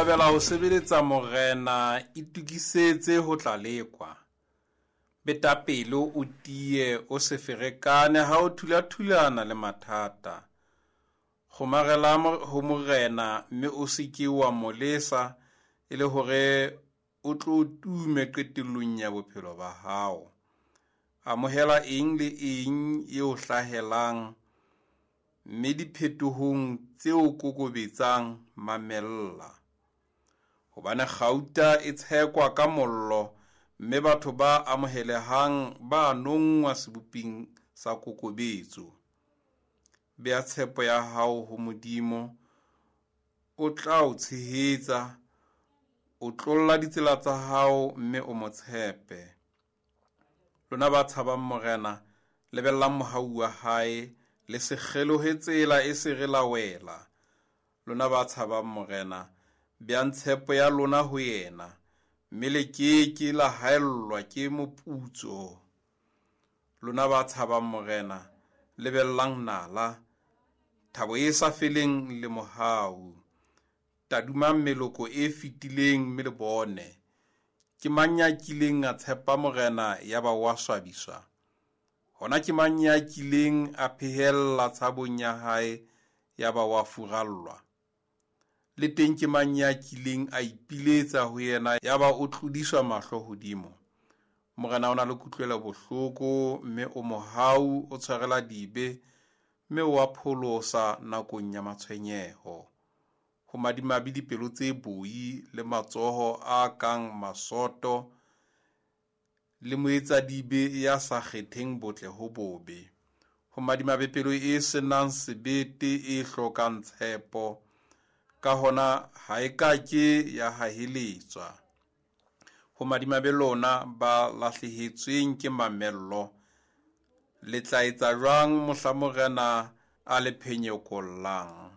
Thabela ho sebeletsa Morena, itokisetse ho tla lekwa. Beta pelo o tiye, o se ferekane ha o thulathulana le mathata. Kgomarela ho Morena mme o se ke wa mo lesa e le hore o tlo tume qetellong ya bophelo ba hao. Amohela eng le eng e o hlahelang mme diphetohong tse o kokobetsang mamella. Hobane kgauta e tshekwa ka mollo mme batho ba amohelehang ba nonngwa seboping sa kokobetso. Bea tshepo ya hao ho Modimo, o tla o tshehetsa, o tlolla ditsela tsa hao mme o mo tshepe. Lona ba tshabang Morena, lebellang mohau wa hae, le se kgelohe tsela e se re la wela. Lona ba tshabang Morena, beang tshepo ya lona ho yena, mme le ke ke la haellwa ke moputso. Lona ba tshabang Morena, lebellang nala, thabo e sa feleng le mohau. Tadimang meloko e fetileng mme le bone. Ke mang ya kileng a tshepa Morena ya ba wa swabiswa? Hona ke mang ya kileng a phehella tshabong ya hae ya ba wa furallwa? Le teng ke mang ya kileng a ipiletsa ho yena ya ba o tlodiswa mahlo hodimo? Morena o na le kutlwelo bohloko mme o mohau, o tshwarela dibe mme o a pholosa nakong ya matshwenyeho. Ho madimabe dipelo tse boi le matsoho a kang masoto le moetsadibe ya sa kgetheng botle ho bobe. Ho madimabe pelo e senang sebete e hlokang tshepo, ka hona ha e ka ke ya haheletswa. Ho madimabe lona ba lahlehetsweng ke mamello, le tla etsa jwang mohla Morena a le phenyekollang?